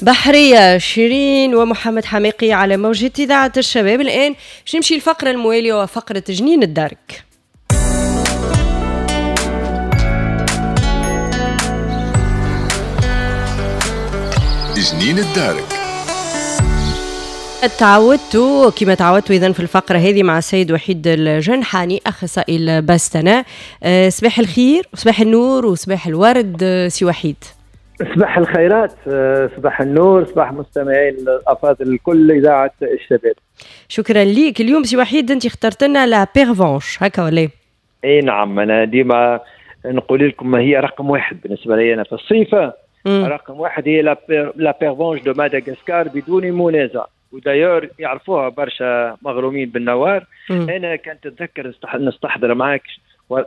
بحرية شيرين ومحمد حماقي على موجة إذاعة الشباب. الآن باش نمشي الفقرة الموالية وفقرة جنين الدارك. جنين الدارك. تعودتوا كما تعودتوا إذن في الفقرة هذه مع السيد وحيد الجنحاني أخصائي البستنة. صباح الخير وصباح النور وصباح الورد سي وحيد. صباح الخيرات، صباح النور، صباح مستمعين الافاضل الكل اذاعة الشباب. شكرا ليك. اليوم سي وحيد انت اخترت لنا la pervenche هكا ولا؟ اي نعم، انا ديما نقول لكم هي رقم واحد بالنسبة لي انا في الصيف. رقم واحد هي la pervenche de Madagascar بدون منازع، و d'ailleurs يعرفوها برشا مغرومين بالنوار. انا كنت اتذكر نستحضر معاك،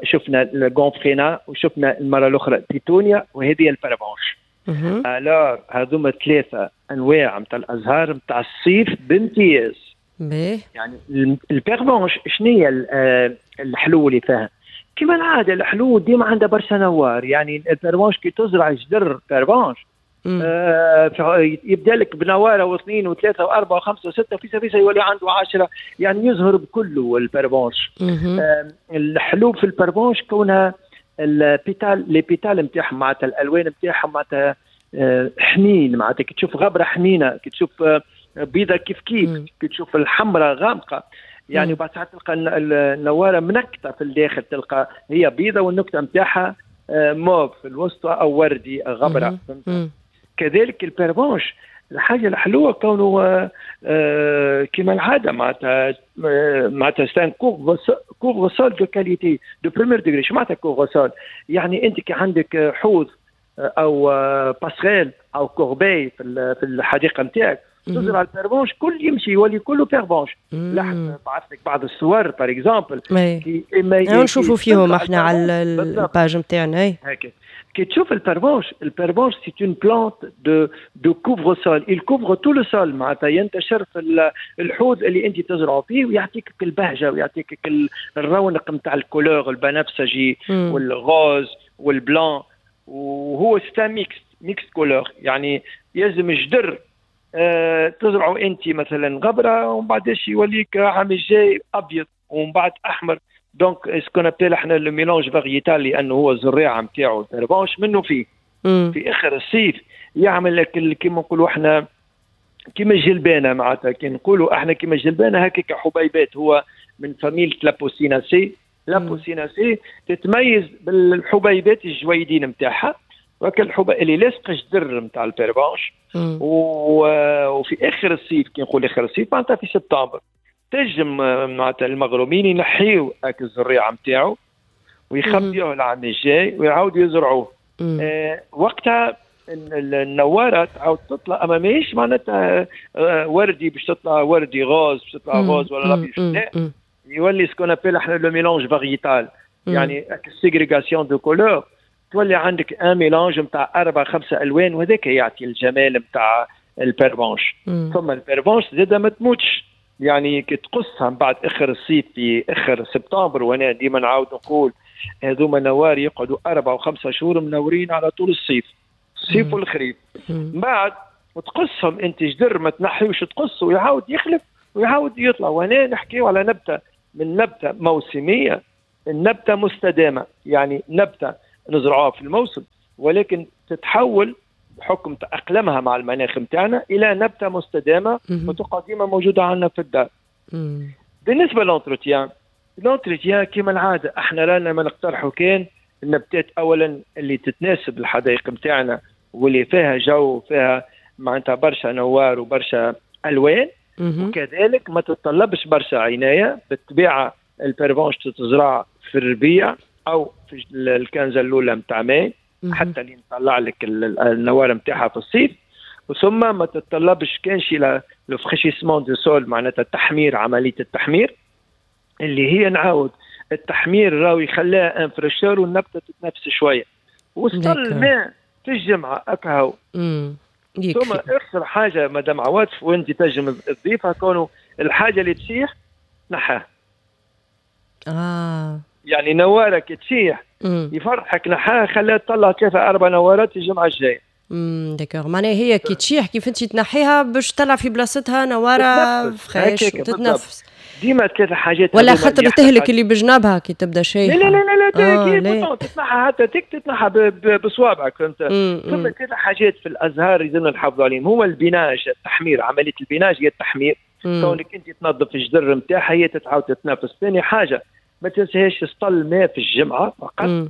شفنا ال gomphrena وشفنا المرة الاخرى pétunia وهذه ال pervenche. alors هذوما ثلاثة انواع نتاع الازهار نتاع الصيف بامتياز. يعني ال pervenche شنو هي الحلو اللي فيها؟ كما العادة الحلو ديما عندها برشا نوار. يعني ال pervenche كي تزرع جدر pervenche يبدا لك بنواره واثنين وثلاثة واربعة وخمسة وستة، في سفيسه يولي عنده 10، يعني يظهر بكله ال pervenche. الحلو في ال pervenche كونها ال pétales، les pétales نتاعهم معناتها الالوان نتاعهم معناتها حنين، معناتها كي تشوف غبرة حنينه، كي تشوف بيضة كيف كيف، كي تشوف الحمراء غامقه، يعني وبعد ساعات تلقى النواره منكته في الداخل، تلقى هي بيضة والنكته نتاعها موف في الوسط او وردي غبرة. كذلك ال pervenche الحاجة الحلوة كونه كما العادة معناتها c'est un couvre-sol de qualité de premier degré. شو معناتها couvre-sol؟ يعني انت كي عندك حوض او passerelle او corbeille في الحديقة نتاعك تزرع ال pervenche كل يمشي يولي كله pervenche. لاحظ بعث لك بعض الصور par exemple نشوفوا فيهم احنا على ال page نتاعنا. هكا كي تشوف ال pervenche، ال pervenche c'est une plante de couvre-sol، il couvre tout le sol، معناتها ينتشر في الحوض اللي انت تزرعه فيه ويعطيك البهجة ويعطيك الرونق نتاع ال couleur البنفسجي وال rose وال blanc، وهو c'est un mixte couleur. يعني يلزم جدر تزرعوا انت مثلا غبرة ومن بعدش يوليك عام الجاي ابيض ومن بعد احمر. donc ce qu'on appelle احنا le mélange variétal، لانه هو الزريعه نتاعو ال pervenche منه فيه في اخر الصيف يعمل لك كيما نقولوا احنا كيما الجلبانه، معناتها كي نقولوا احنا كيما الجلبانه هكاك حبيبات. هو من famille l'Apocynacées. l'Apocynacées تتميز بالحبيبات الجويدين نتاعها، وكل الحبة اللي لاصقه جدر نتاع ال pervenche. وفي اخر الصيف، كي نقول اخر الصيف معناتها في سبتمبر، تنجم معناتها المغرومين ينحيو هاك الزريعه نتاعو ويخبيوه العام الجاي ويعاودوا يزرعوه. وقتها النواره تعاود تطلع، اما ماهيش معناتها وردي باش تطلع وردي rose، باش تطلع rose ولا لا، يولي ce qu'on appelle احنا le mélange variétal، يعني ségrégation de couleurs، تولي عندك un mélange نتاع 4 5 الوان، وهذاك يعطي الجمال نتاع ال pervenche. ثم ال pervenche زاده ما تموتش، يعني كي تقصها من بعد اخر الصيف في اخر سبتمبر، وانا ديما نعاود نقول هذوما نوار يقعدوا 4 و5 شهور منورين على طول الصيف، الصيف والخريف. من بعد وتقصهم انت جدر ما تنحيوش، تقص ويعاود يخلف ويعاود يطلع. وهنا نحكيو على نبته من نبته موسميه، النبتة مستدامة، يعني نبته نزرعوها في الموسم ولكن تتحول بحكم تأقلمها مع المناخ نتاعنا الى نبته مستدامة وتقعد ديما موجودة عندنا في الدار. بالنسبة l'entretien، l'entretien كما العادة احنا رانا ما نقترحوا كان النبتات اولا اللي تتناسب الحدائق نتاعنا واللي فيها جو فيها معناتها برشا نوار وبرشا الوان، وكذلك ما تتطلبش برشا عناية. بالطبيعة ال pervenche تتزرع في الربيع او في ال quinzaine الاولى نتاع ماي حتى اللي نطلع لك النوار نتاعها في الصيف. وثم ما تتطلبش كان شي le fraîchissement du sol، معناتها التحمير، عملية التحمير اللي هي نعاود التحمير راهو يخليها une fraîcheur والنبته تتنفس شوية وسط الماء في الجمعة اكهو. ثم اخر حاجة مدام عواطف وانت تنجم تضيفها، كونه الحاجة اللي تشيح نحاها. يعني نوارك تشيح يفرحك نحاها، خليها تطلع 3 4 نوارات الجمعة الجاية. d'accord، معناها هي كي تشيح، كيف انت تنحيها باش تطلع في بلاصتها نواره fraîche وتتنفس. ديما ثلاثة حاجات. ولا خاطر تهلك اللي بجنابها كي تبدا شايحه. لا لا لا لا، لا، كي تتنحى حتى تتنحى بصوابعك، فهمت؟ ثم ثلاثة حاجات في الازهار لازمنا نحافظوا عليهم، هو ال binage، التحمير، عملية ال binage هي التحمير، كونك انت تنظف الجدر نتاعها هي تتعاود تتنفس. ثاني حاجه، ما تنساهاش سطل ماء في الجمعة فقط.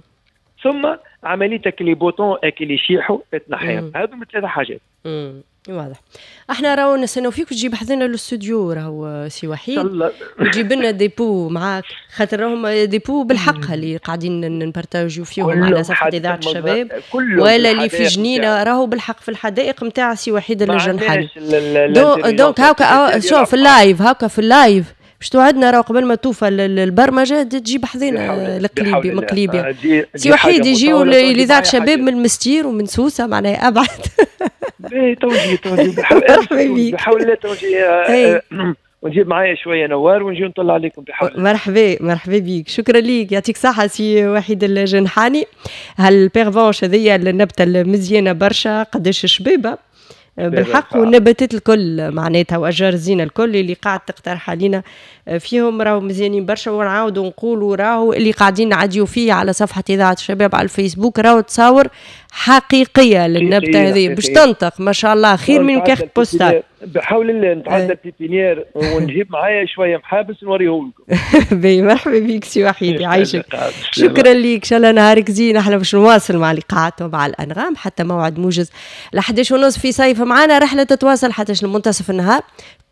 ثم عمليتك les boutons اللي يشيحوا تنحيهم. هذو ثلاثة حاجات. واضح. احنا راهو نستناو فيك وتجيب حذنا للاستوديو، راهو سي وحيد، وتجيب لنا des pots معاك، خاطر راهم des pots بالحق اللي قاعدين نبارتاجيو فيهم على صفحة اذاعة الشباب ولا اللي في جنينه، راهو بالحق في الحدائق نتاع سي وحيد الجنحاني. donc هاكا شوف في ال live، هاكا في ال live باش توعدنا راهو قبل ما توفى البرمجة تجيب حذينا القليبي من قليبيا. سي وحيد، يجيو لاذاعة شباب من المستير ومن سوسه، معناها ابعد. باهي، توجي توجي بحول الله، توجي ونجيب معايا شوية نوار ونجي نطلع عليكم بحول. مرحبا، مرحبا بيك، شكرا ليك، يعطيك صحة سي وحيد الجنحاني. هال pervenche هذيا النبتة المزيانه برشا، قداش شبابه بالحق، والنباتات الكل معناتها واشجار الزينة الكل اللي قاعد تقترح علينا فيهم راهو مزيانين برشا. ونعاودوا نقولوا راهو اللي قاعدين نعديو فيه على صفحة اذاعة الشباب على الفيسبوك راهو تصاور حقيقية للنبته هذه باش تنطق، ما شاء الله، خير من carte postale. بحول الله نتعدى ال pépinière ونجيب معايا شوية محابس نوريهم لكم. باهي، مرحبا بك سي وحيد، يعيشك، شكرا لك، ان شاء الله نهارك زين. احنا باش نواصل مع لقاءات ومع الانغام حتى موعد موجز ل 11:30 في صيف معنا. رحله تتواصل حتى لمنتصف النهار،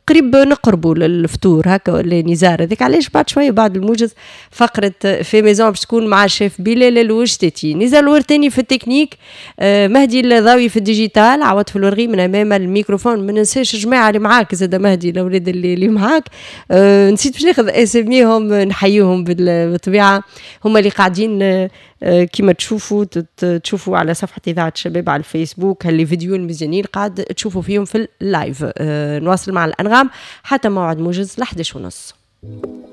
قريب نقربوا للفطور هكا ولا نزار؟ هذيك علاش بعد شوية بعد الموجز فقره fait maison باش تكون مع الشيف بلال الوشتاتي. نزار الورتاني في التكنيك، مهدي الضاوي في ال digital، عوض في الورغي من امام الميكروفون. ما ننساش الجماعة اللي معاك زاد مهدي، الاولاد اللي معاك، نسيت باش ناخذ اساميهم نحييهم بالطبيعه، هما اللي قاعدين كما تشوفوا على صفحة اذاعة الشباب على الفيسبوك هال les vidéos المزيانين قاعد تشوفوا فيهم في ال live. نواصل مع الانغام حتى موعد موجز ل 11:30.